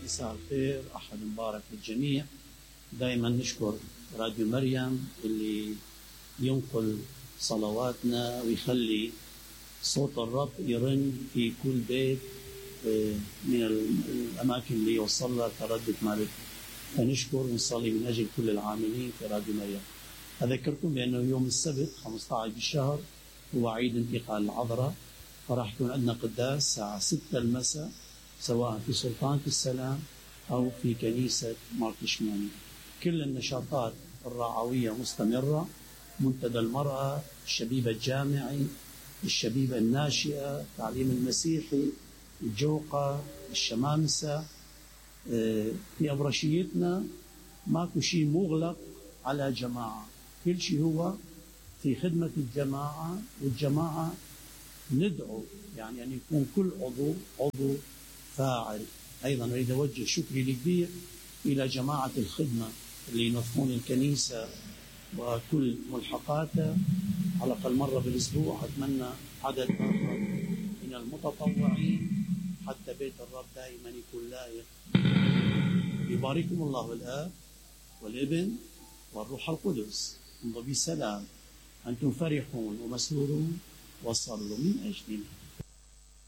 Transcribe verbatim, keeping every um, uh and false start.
مساء الخير، أحد مبارك للجميع. دائما نشكر راديو مريم اللي ينقل صلواتنا ويخلي صوت الرب يرن في كل بيت من الأماكن اللي يوصل لها تردد مالك. فنشكر ونصلي من أجل كل العاملين في راديو مريم. أذكركم بأنه يوم السبت خمسة عشر بالشهر هو عيد انتقال العذراء، فراح يكون عندنا قداس الساعة ستة المساء، سواء في سلطانة السلام أو في كنيسة مارتشماني. كل النشاطات الرعوية مستمرة، منتدى المرأة، الشبيبة الجامعي، الشبيبة الناشئة، التعليم المسيحي، الجوقة، الشمامسة. في أبرشيتنا ماكو شيء مغلق على جماعة، كل شيء هو في خدمة الجماعة، والجماعة ندعو يعني أن يكون كل عضو عضو فاعل. أيضا أريد أوجه شكري الكبير إلى جماعة الخدمة اللي ينظمون الكنيسة وكل ملحقاتها على الأقل مرة بالأسبوع. أتمنى عدد آخر من المتطوعين حتى بيت الرب دائما يكون لائق. يبارككم الله الآب والابن والروح القدس. امضوا بسلام، أنتم فرحون ومسرورون وصلوا من أجلنا.